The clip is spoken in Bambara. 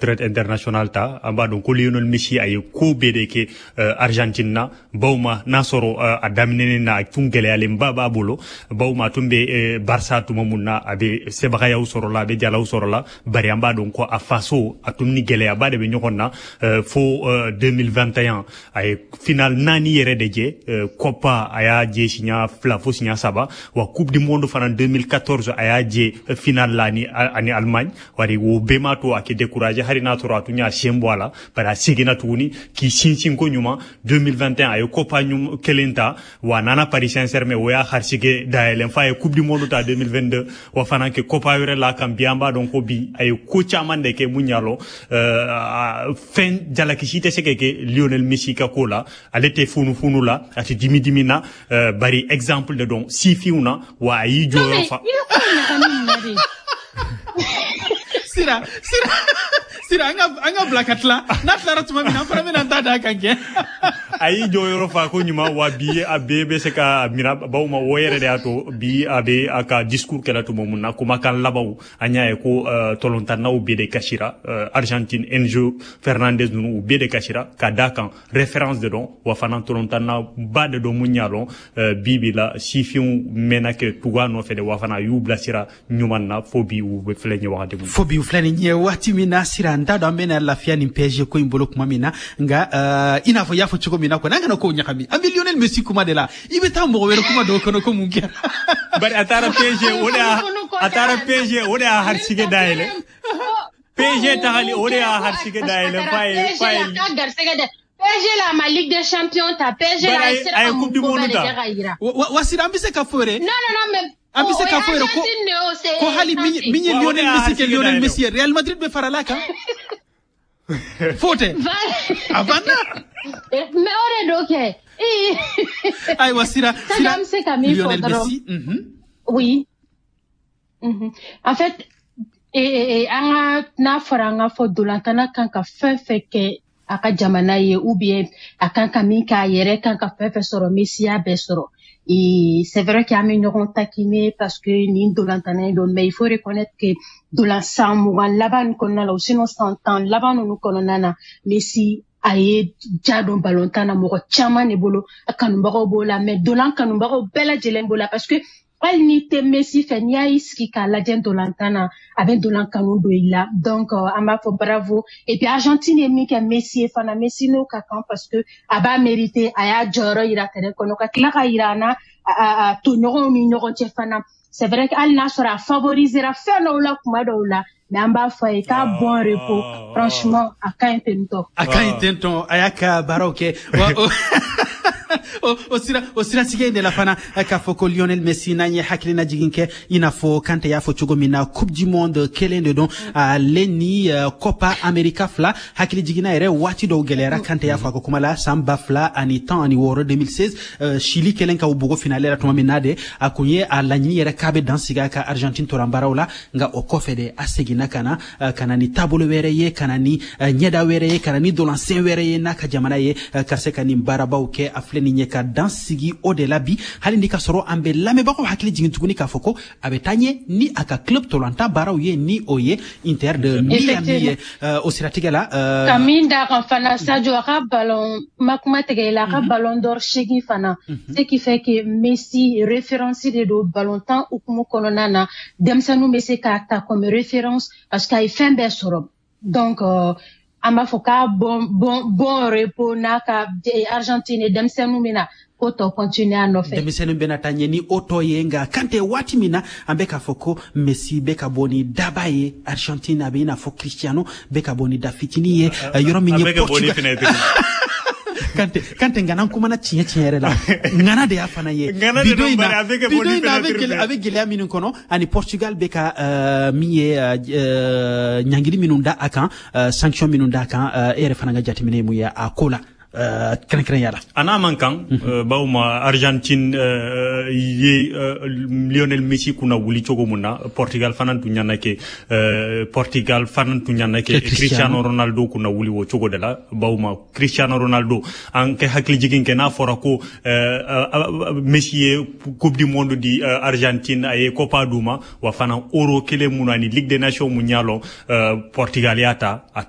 Retraite international ta. An b'a dɔn ko Lionel Messi, a ye ko bɛɛ de kɛ Argentine na. Bawma n'a sɔrɔ a daminɛnen na, a tun gɛlɛyalenba b'a bolo. Bawma a tun bɛ Barça tuma mun na, a bɛ sebagayaw sɔrɔ la, a bɛ jalaw sɔrɔ la, bari an b'a dɔn ko a faso, a tun ni gɛlɛyaba de bɛ ɲɔgɔn na. Fo 2021, a ye final naani yɛrɛ de jɛ. Copa, a y'a jɛ siɲɛ fila fo siɲɛ saba. Wa Coupe du monde fana, 2014, a y'a jɛ final la ani Allemagne. Wari o bɛɛ m'a to a kɛ découragé, hali n'a sɔrɔ a tun y'a sen bɔ a la, bari a seginna tuguni k'i sinsin ko ɲuman. 2021, a ye Copa kelen ta, wa a nana Paris Saint-Germain, o y'a harisige dayɛlɛn f'a ye Coupe du monde ta 2022, wa fana kɛ Copa wɛrɛ la kan. Bi, an b'a dɔn ko bi a ye ko caman de kɛ mun y'a lɔ, fɛn jalakisi tɛ se ka kɛ Lionel Messi ka ko la. Ale tɛ funufunu la, a tɛ dimi dimi na, bari exemple de don sifinw na, wa a y'i jɔyɔrɔ fa. Sira, Sira, Sira, an ka bila ka tila. N'a tilara tuma min na, an fana bɛna an ta d'a kan kɛ. A y'i jɔyɔrɔ fa ko ɲuman, wa bi a bɛɛ bɛ se ka mina. Bawo ma o yɛrɛ de y'a to bi a bɛ a ka discours kɛla tuma mun na, kumakan labanw, an y'a ye ko tɔlɔntannaw bɛɛ de kasira. Argentine, Enzo Fernandez ninnu, u bɛɛ de kasira ka d'a kan référence de don, wa fana tɔlɔntanna ba de don mun y'a lɔn. Bi bi la, sifinw mɛnna kɛ tugu a nɔfɛ de, wa fana a y'u bilasira ɲuman na fo bi u bɛ filɛ ɲɛ wagati mun. Fo bi u filɛ nin ye waati min na. Sira, n t'a dɔn an bɛna lafiya nin PSG ko in bolo tuma min na, nka i n'a fɔ i y'a fɔ cogo min na kɔni, an kana kow ɲagami. An bɛ Lionel Messi kuma de la, i bɛ taa mɔgɔ wɛrɛ kuma dɔw kɔnɔ ko mun kɛra. Bari a taara PSG, o de y'a, a taara PSG, o de y'a harisige dayɛlɛ. PSG tagali, o de y'a harisige dayɛlɛ f'a ye. PSG la ma Ligue des Champions ta, PSG la a ye Coupe du monde ta. Wa Sira, an bɛ se ka fɔ yɛrɛ. Non, non, non, mais An bɛ se k'a fɔ yɛrɛ ko hali min ye Lionel Messi kɛ Lionel Messi ye, Real Madrid bɛ farala kan. Fo tɛ a banna. Mais o de don kɛ. Ayiwa Sira, Sira. An bɛ se ka min fɔ Lionel dɔrɔn. Messi. Oui. En fait, an ka n'a fɔra an ka fɔ dolantana kan ka fɛn fɛn kɛ a ka jamana ye, ou bien a kan ka min k'a yɛrɛ kan ka fɛn fɛn sɔrɔ, Messi y'a bɛɛ sɔrɔ. Et c'est vrai qu'an bɛ ɲɔgɔn taquiner parce que nin dolantana in don, mais il faut reconnaître que dolan san 20 laban nin kɔnɔna la, ou sinon san 10 laban ninnu kɔnɔna na, Messi a ye ja don balontan na mɔgɔ caman de bolo. A kanubagaw b'o la, mais dolan kanubagaw bɛɛ lajɛlen b'o la, parce que hali n'i tɛ Messi fɛ, n'i y'a sigi k'a lajɛ ntolantan na, a bɛ ntolan kanu don i la. Donc an b'a fɔ bravo. Et puis Argentine ye min kɛ Messi ye fana, Messi n'o ka kan, parce que a b'a mérité. A y'a jɔyɔrɔ yira terrain kɔnɔ, ka tila ka yira an na a tɔɲɔgɔnw ni ɲɔgɔn cɛ fana. C'est vrai que hali n'a sɔrɔ a favorisera fɛn dɔw la kuma dɔw la, mais an b'a fɔ a ye k'a bon repos. Franchement, a ka ɲi ten tɔ. A ka ɲi ten tɔ, a y'a ka baaraw kɛ. O sira, o siratigɛ in de la fana, k'a fɔ ko Lionel Messi, n'an ye hakilina jigin kɛ, i n'a fɔ Kante y'a fɔ cogo min na, Coupe du monde kelen de don ale ni Copa America fila. Hakili jiginna yɛrɛ, waati dɔw gɛlɛyara. Kante y'a fɔ a ka kuma la, san 2016, 2016, Chili kɛlen ka u bugo finale la tuma min na de, a kun ye a laɲini yɛrɛ k'a bɛ dan sigi a ka Argentine toranbaaraw la. Nka o kɔfɛ de, a seginna ka na ni taabolo wɛrɛ ye, ka na ni ɲɛda wɛrɛ ye, ka na ni dolansen wɛrɛ ye n'a ka jamana ye, ka se ka nin baarabaw kɛ. A filɛ nin ye ka dan sigi o de la bi, hali ni ka sɔrɔ an bɛ lamɛnbagaw hakili jigin tuguni k'a fɔ ko a bɛ taa ɲɛ ni a ka club tolantan baaraw ye, ni o ye Inter de Miami ye. O siratigɛ la Ka min d'a kan fana, Sadio, a ka ballon ma kuma tigɛ i la, a ka ballon d'or seegin fana, ce qui fait que Messi référence de don ballon tan hukumu kɔnɔna na. Denmisɛnninw bɛ se k'a ta comme référence parce que a ye fɛn bɛɛ sɔrɔ. Donc an b'a fɔ k'a bon bon bon repos n'a ka Argentine denmisɛnninw bɛna ko tɔ continuer a nɔfɛ. Denmisɛnnin bɛna taa ɲɛ ni o tɔ ye. Nka Kante, waati min na an bɛ k'a fɔ ko Messi bɛ ka bɔ ni daba ye Argentine, a bɛ i n'a fɔ Cristiano bɛ ka bɔ ni da fitinin ye yɔrɔ min ye Portugal. Kante, Kante, ngana kumana tiɲɛ tiɲɛ yɛrɛ la, ŋana de y'a fana ye. Bido in na, bido in na, a bɛ gɛlɛya minnu kɔnɔ, ani Portugal bɛ ka min ye ɲangili minnu da a kan, sanction minnu da a kan, e yɛrɛ fana ka jateminɛ ye mun ye a ko la kɛrɛnkɛrɛnya la? A n'a man kan, bawo ma Argentine ye Lionel Messi kunna wuli cogo mun na, Portugal fana tun ɲana kɛ, Portugal fana tun ɲana kɛ Cristiano Ronaldo kunna wuli o cogo de la. Bawo ma Cristiano Ronaldo, an kɛ hakili jigin kɛ, n'a fɔra ko Messi ye Coupe du monde di Argentine, a ye Copa d'u ma, wa fana Euro kelen mun ani Ligue des Nations mun y'a lɔn, Portugal y'a ta a